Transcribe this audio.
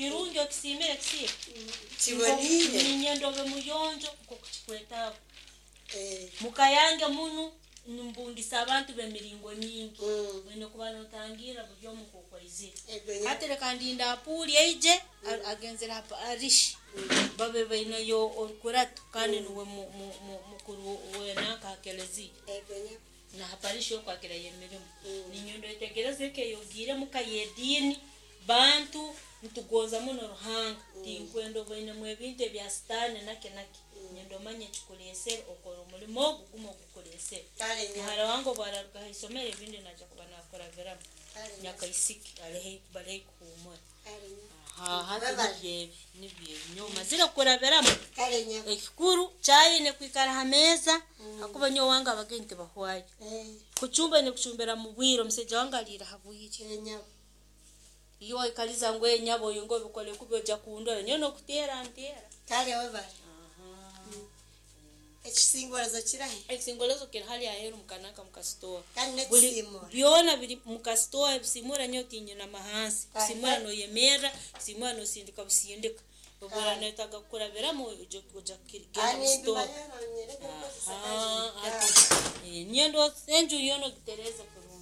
Kirungi okisiimire kisiima. Kiboniire. Ninyenda obe muyonjo nk'oku kikwetaaga. Eh, Muka yange munu nimbungisa abantu b'emiringo nyingi. Mm. Oine kuba notangira buri omu nk'oku aizire. Ego nyabo. Hati leka ndinde apuuli aije, agenzere ha parish. Babe baineyo orukurato kandi nuwe mukuru wenanka ha keleziya. Ego nyabo. Na ha parish okwakirayo emirimo. Mm. Ninyenda oyetegereze eka ey'ogiiremu muka y'ediini, bantu nitugonza muno Ruhanga. Tinkwenda obainemu ebintu ebya sitaani naki naki. Nyenda omanye ekikuleesere, okore omulimo ogu gumu ogukuleesere. Kale nyabo. Muhara wange obu araruga ha isomero ebindi naija kuba nakurabiramu. Kale nyabo. Nyakaisiki ali haihi bali haihi kuhuumura. Kale nyabo. Hati Webale. nibyo ebi, nibyo ebi. Nyowe mazire kukurabiramu. Kale nyabo. Ekikuru chai ine kwikara ha meeza, hakuba nyowe wange abagenyi tibahwayo. Eh, Kuchumba ine kuchumbira mu bwire, omusaija wange aliira ha bwire. eh, nyabo. Iwe waikaliza ngu nyabo oyo ngo obikole kubi ojja kundora. Nyowe nokuteera nteera. Kale webale. Ekisingorezo kirahi? Ekisingolezo kiri hali aheeru mukanaka mukasitowa. Kandi Buli n'ekisiimura. byona biri mukasitowa. Ebisimura nyowe tinyinama hansi. Kale. Kusimura noyemerra, kusimura nosindika busindika. Obu Kale. oranetaaga kukurabiramu oija kugenda Ah, mu sitowa. nimbimanya nonyereka kukozesa Hati kangi. nyowe ndowooza enju yoona ogitereeze kurungi.